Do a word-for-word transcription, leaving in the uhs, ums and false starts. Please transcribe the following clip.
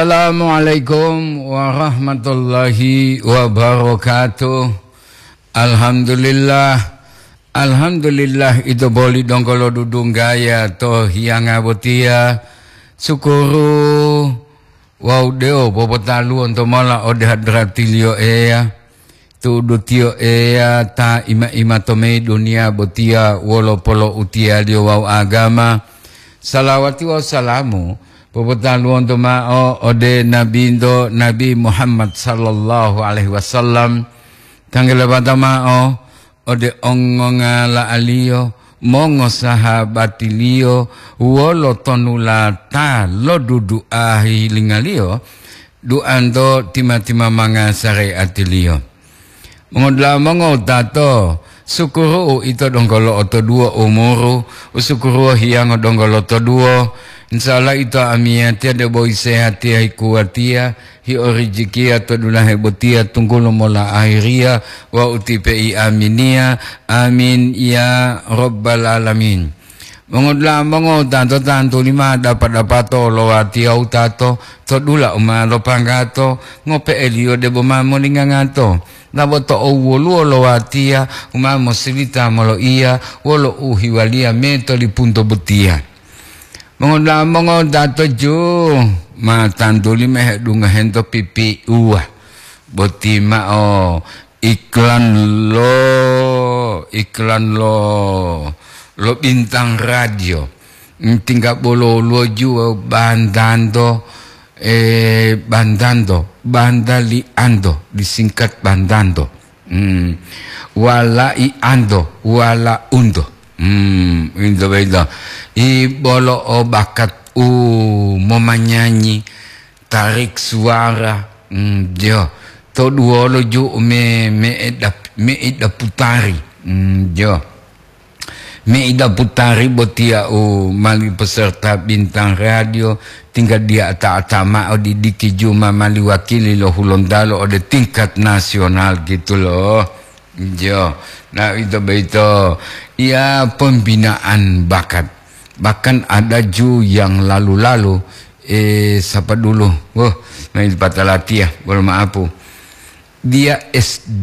Assalamualaikum warahmatullahi wabarakatuh. Alhamdulillah. Alhamdulillah, ito boli donggo lo dudunggaya to hiyanga botiya. Sukuru wawu dewo popotaluwonto mola ode hadratiliyo Eya. Tu'udu tiyo Eya ta ima-ima to meyi duniya botiya wolo polo'utiyaliyo wawu agama. Salawati wawu salamu popotaluwonto ma'o ode Nabinto Nabi Muhammad sallallahu alaihi wasallam, tanggalabata ma'o ode ongongala'aliyo, mongosahabatiliyo, wolo tonulata lo dudu'a hihilingaliyo, duanto tima-timamanga sareatiliyo. Mongodula'a mongowutato, sukuru'u ito donggo lo'otoduwo umuru, usukuruwo hiyango donggo lotoduwo. Insya Allah ito amiyatiya debo isehatiya hikuwatiya, hiorijikiya to dulahe botiya tunggulo mola ahiriya wawu tipe'i aminiya. Amin ya rabbal alamin. Mongodula'a mongowutato, tantuli ma dapa-dapato lo watiya wutato to dula u ma lopanggato, ngope'eliyo debo ma molingangato. Labo to owoluwo lo watiya u ma mosilita moloiya wolo u hiwaliya metolipunto botiya. Mongodula'a mongowutato ju ma tantuli ma hedungahento pipiuwa boti ma'o iklan lo, iklan lo, lo Bintang Radio. Tingga bolo woluwo ju bandanto, eh, bandanto, banda li anto, disingkat bandanto. Hmm. Wala i anto, wala unto. Hmm, into boyito. I bolo o bakat u momanyanyi, tarik suara, mm, jo. To duwolo ju me, me edap, me edaputari. Mm, jo. Me edaputari botiya u mali peserta Bintang Radio, tinggal dia ata-ata ma'o didiki ju ma mali wakili lo Hulontalo ode tingkat nasional gitu loh. Jo. Nah, itu begitu. Ya, pembinaan bakat. Bahkan ada ju yang lalu-lalu, eh, siapa dulu? Wah, main patalatia, belum maapu. Dia S D